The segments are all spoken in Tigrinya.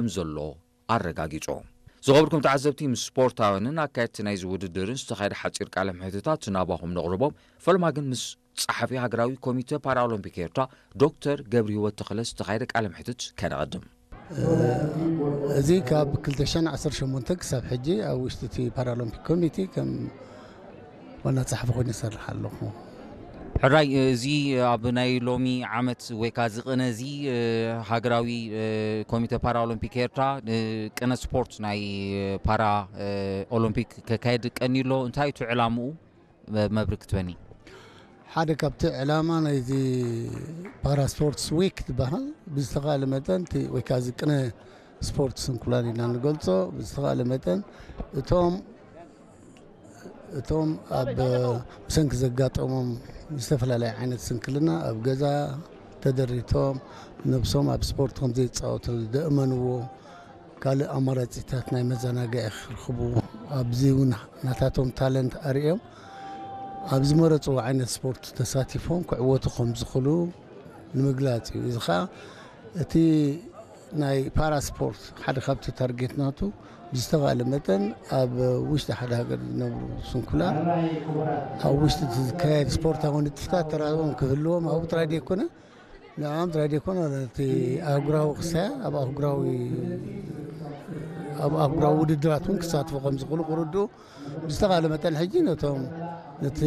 ከም ዘሎ ኣረጋጊጹ። ዝኸበርኩም ተዓዘብቲ፣ ምስ ስፖርታውያንን ኣካየድቲ ናይዚ ውድድርን ዝተኻየደ ሓጺር ቃለ ምሕትታት ናባኹም ነቕርቦም። ፈለማ ግን ምስ ጸሓፊ ሃገራዊ ኮሚተ ፓራኦሎምፒክ ኤርትራ ዶክተር ገብረህይወት ተኽለ ዝተኻየደ ቃለ ምሕትት ከነቐድም። እዚ ካብ ክልተ ሽሕን ዓሰርተ ሸሞንተን ክሳብ ሕጂ ኣብ ውሽጢ እቲ ፓራኦሎምፒክ ኮሚቴ ከም ዋና ጸሓፊ ኮይኑ ይሰርሕ ኣለኹ። ሕራይ፣ እዚ ኣብ ናይ ሎሚ ዓመት ወይ ከኣ እዚ ቅነ እዚ፣ ሃገራዊ ኮሚተ ፓራኦሎምፒክ ኤርትራ ቅነ ስፖርት ናይ ፓራ ኦሎምፒክ ከካየድ ቀንዩ ኣሎ። እንታይ እዩ እቲ ዕላምኡ? መብርህ ክትበኒ። ሓደ ካብቲ ዕላማ ናይዚ ፓራ ስፖርትስ ዊክ ዝበሃል ብዝተኻለ መጠን እቲ ወይ ከዓ እዚ ቅነ ስፖርት ስንኩላን ኢና ንገልጾ። ብዝተኻለ መጠን እቶም እቶም ኣብ ብሰንኪ ዘጋጠሞም ዝተፈላለየ ዓይነት ስንክልና ኣብ ገዛ ተደሪቶም ነብሶም ኣብ ስፖርት ከም ዘይጻወቱ ደእመንዎ ካልእ ኣማራጺታት ናይ መዘናግዒ ክርኽቡ ኣብዚ እውን ናታቶም ታለንት ኣርእዮም ኣብ ዝመረጽዎ ዓይነት ስፖርት ተሳቲፎም ክዕወቱ ከም ዝኽእሉ ንምግላጽ እዩ። እዚ ኸኣ እቲ ናይ ፓራ ስፖርት ሓደ ካብቲ ታርጌት ናቱ ብዝተኻለ መጠን ኣብ ውሽጢ ሓደ ሃገር ዝነብሩ ስንኩላን ኣብ ውሽጢ እቲ ዝካየድ ስፖርታዊ ንጥፍታት ተራኦም ክህልዎም ኣብኡ ጥራይ ዘይኮነ ንዕኦም ጥራይ ዘይኮነ እቲ ኣህጉራዊ ክሳያ ኣብ ኣህጉራዊ ኣብ ኣህጉራዊ ውድድራት እውን ክሳትፉ ከም ዝኽእሉ ክርድኡ ብዝተኻለ መጠን ሕጂ ነቶም ነቲ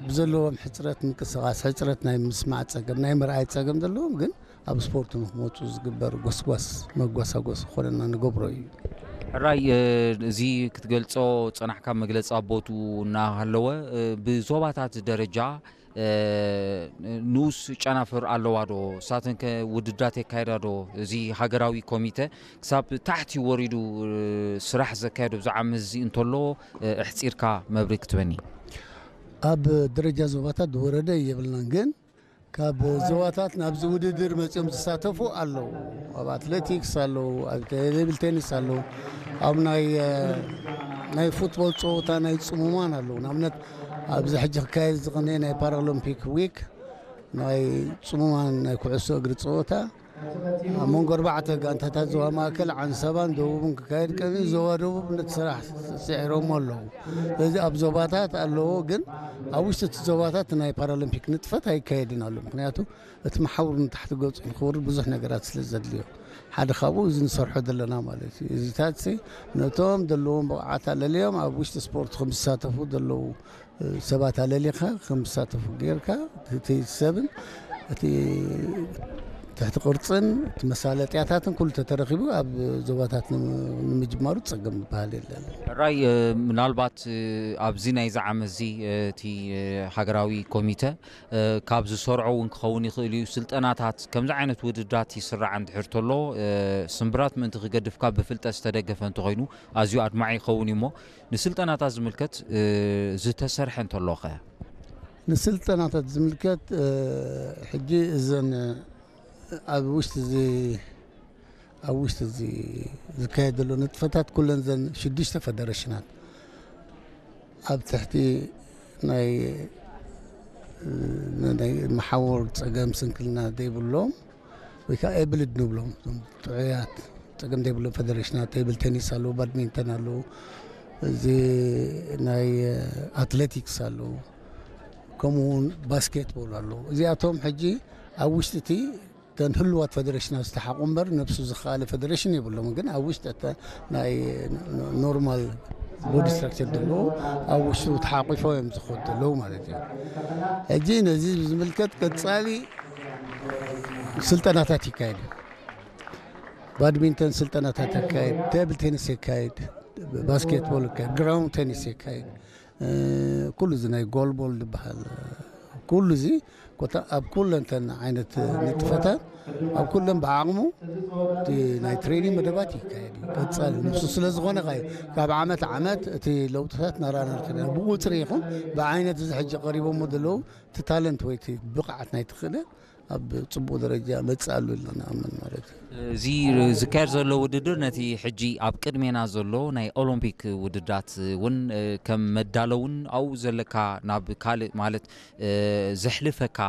ብዘለዎም ሕፅረት ምንቅስቃስ ሕፅረት ናይ ምስማዕ ፀገም ናይ ምርኣይ ፀገም ዘለዎም ግን ኣብ ስፖርት ንክመፁ ዝግበር ጎስጓስ መጓሳጎስ ክኾነና ንገብሮ እዩ። ሕራይ እዚ ክትገልፆ ፀናሕካ መግለፂ ኣቦቱ እናሃለወ ብዞባታት ደረጃ ንኡስ ጨናፍር ኣለዋ ዶ? እሳተን ከ ውድድራት የካየዳ ዶ? እዚ ሃገራዊ ኮሚተ ክሳብ ታሕቲ ወሪዱ ስራሕ ዘካየዶ ብዛዕባ መዚ እንተሎ ኣሕፂርካ መብርሂ ክትበኒ። ኣብ ደረጃ ዞባታት ዝወረደ የብልናን፣ ግን ካብ ዞባታት ናብዚ ውድድር መፂኦም ዝሳተፉ ኣለዉ። ኣብ ኣትሌቲክስ ኣለዉ፣ ኣብ ቴብል ቴኒስ ኣለዉ፣ ኣብ ናይ ናይ ፉትቦል ፀወታ ናይ ፅሙማን ኣለዉ። ንኣብነት ኣብዚ ሕጂ ክካየድ ዝቕነ ናይ ፓራሎምፒክ ዊክ ናይ ፅሙማን ናይ ኩዕሶ እግሪ ፀወታ ኣብ መንጎ ኣርባዕተ ጋንታታት ዞባ ማእከል ዓንሰባን ደቡብን ክካየድ ቀኒ ዞባ ደቡብ ነቲ ስራሕ ስዒሮሞ ኣለዉ። ስለዚ ኣብ ዞባታት ኣለዎ፣ ግን ኣብ ውሽጢ እቲ ዞባታት ናይ ፓራሎምፒክ ንጥፈት ኣይካየድን ኣሎ። ምክንያቱ እቲ መሓውር ንታሕቲ ገፁ ንክወርድ ብዙሕ ነገራት ስለ ዘድልዮ ሓደ ካብኡ እዚ ንሰርሖ ዘለና ማለት እዩ። እዚታት ነቶም ዘለዎም ብቕዓት ኣለልዮም ኣብ ውሽጢ ስፖርት ከም ዝሳተፉ ዘለዉ ሰባት ኣለሊኻ ከም ዝሳተፉ ጌርካ እቲ ሰብን እቲ ትሕቲ ቅርፅን እቲ መሳለጥያታትን ኩሉ ተተረኪቡ ኣብ ዞባታት ንምጅማሩ ፀገም ዝበሃል የለን። ራይ ምናልባት ኣብዚ ናይዚ ዓመት እዚ እቲ ሃገራዊ ኮሚተ ካብ ዝሰርዖ እውን ክኸውን ይኽእል እዩ። ስልጠናታት ከምዚ ዓይነት ውድድራት ይስራዕ እንድሕር ተሎ ስምብራት ምእንቲ ክገድፍካ ብፍልጠት ዝተደገፈ እንተኾይኑ ኣዝዩ ኣድማዒ ይኸውን እዩ እሞ ንስልጠናታት ዝምልከት ዝተሰርሐ እንተሎ ኸ? ንስልጠናታት ዝምልከት ሕጂ እዘን ኣብ ውሽጢ እዚ ኣብ ውሽጢ እዚ ዝካየድ ዘሎ ንጥፈታት ኩለን ዘን ሽዱሽተ ፈደረሽናት ኣብ ትሕቲ ናይ ናይ መሓውር ፀገም ስንክልና ዘይብሎም ወይ ከዓ ኤብልድ ንብሎም እዞም ጥዑያት ፀገም ዘይብሎም ፈደሬሽናት ቴብል ቴኒስ ኣለዉ፣ ባድሚንተን ኣለዉ፣ እዚ ናይ ኣትሌቲክስ ኣለዉ፣ ከምኡ እውን ባስኬትቦል ኣለዉ። እዚኣቶም ሕጂ ኣብ ውሽጢ እቲ እተን ህልዋት ፈደሬሽናት ዝተሓቑ እምበር ነብሱ ዝኸኣለ ፈደሬሽን የብሎምን። ግን ኣብ ውሽጢ እተ ናይ ኖርማል ቦዲ ስትራክቸር ዘለዎ ኣብ ውሽጡ ተሓቂፎ እዮም ዝኸዱ ዘለዉ ማለት እዩ። ሕጂ ነዚ ዝምልከት ቀጻሊ ስልጠናታት ይካየድ እዩ። ባድሚንተን ስልጠናታት ይካየድ፣ ቴብል ቴኒስ ይካየድ፣ ባስኬትቦል ይካየድ፣ ግራውንድ ቴኒስ ይካየድ። ኩሉ እዚ ናይ ጎልቦል ዝበሃል ኩሉ እዚ ኮታ ኣብ ኩለንተን ዓይነት ንጥፈታት ኣብ ኩለን ብዓቕሙ እቲ ናይ ትሬኒንግ መደባት ይካየድ እዩ። ቀጻሊ ንሱ ስለ ዝኾነ ኸ ካብ ዓመት ዓመት እቲ ለውጥታት ናራና ንክእል ኢና። ብቁፅሪ ይኹን ብዓይነት እዚ ሕጂ ቀሪቦሞ ዘለዉ እቲ ታለንት ወይ እቲ ብቕዓት ናይ ትኽእለ ኣብ ጽቡቕ ደረጃ መጽእ ኣሎ ኢልና ንኣምን ማለት እዩ። እዚ ዝካየድ ዘሎ ውድድር ነቲ ሕጂ ኣብ ቅድሜና ዘሎ ናይ ኦሎምፒክ ውድድራት እውን ከም መዳለውን ኣብኡ ዘለካ ናብ ካልእ ማለት ዘሕልፈካ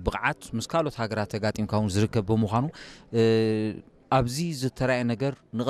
ብቕዓት ምስ ካልኦት ሃገራት ተጋጢምካ እውን ዝርከብ ብምዃኑ ኣብዚ ዝተራእየ ነገር ንቐጻሊ